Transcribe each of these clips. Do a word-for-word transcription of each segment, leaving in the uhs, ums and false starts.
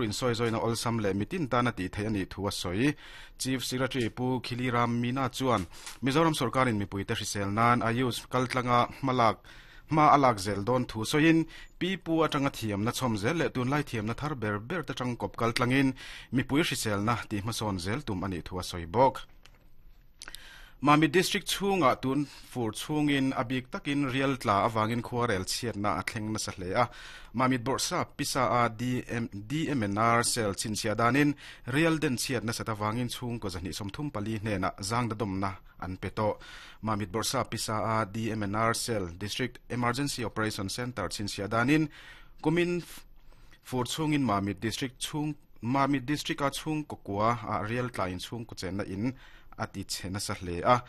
In soi zoina olsam le mitin tana ti thei ani thu a soi. Chief Secretary Pu Khiliram Mina chuan Mizoram sorkarin mipui te hrisel nan Ayush kaltlanga malak ma alak zel don thu soin pi pu atanga thiam na chom zel le tun lai thiam na thar ber ber te tang kop kaltlangin mipui hrisel na ti hmason zel tum ani thu a soi bok. Mami District chunga tun fur chungin abik takin real tla awangin khuarel chiat na athleng na sa hle a. Mamit Borsa Pisa a D M D M N R cell chinchia danin real den chiat na sata wangin chung ko zani somthum pali hne na zang da dom na an peto. Mamit Borsa Pisa a D M N R cell, District Emergency Operation Center chinchia danin kumin fur chungin Mamit District chung Mamit District a chung ko kwa a real tla in chung ko chen na in ati chena sa hle a.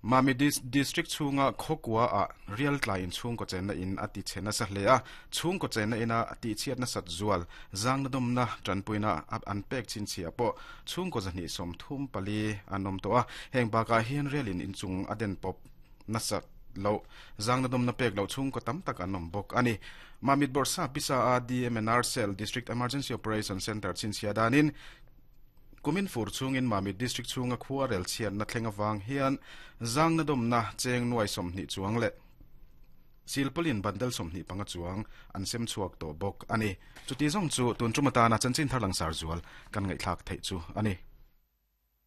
Mami District chunga khokwa a real tla in chung ko chen na in ati chena sa hle a. Chung ko chen na ina ati chiat na sat zual zang na dom na tanpuina an pek chin chi apo chung ko zani som thum pali anom to a. Heng ba ka hian relin in chung aden pop na sat lo zang na dom na pek lo chung ko tam tak anom bok ani. Mamit Borsa Pisa a D M N R Cell, District Emergency Operation Center chin chia danin kumin fur chungin Mamit District chunga khuarel chian na thlenga wang hian zang na dom na cheng nuai som ni chuang le silpolin bandal som ni panga chuang an sem chuak to bok ani. Chuti zong chu tun chumata na chanchin tharlang sar zual kan ngai thlak thei chu ani.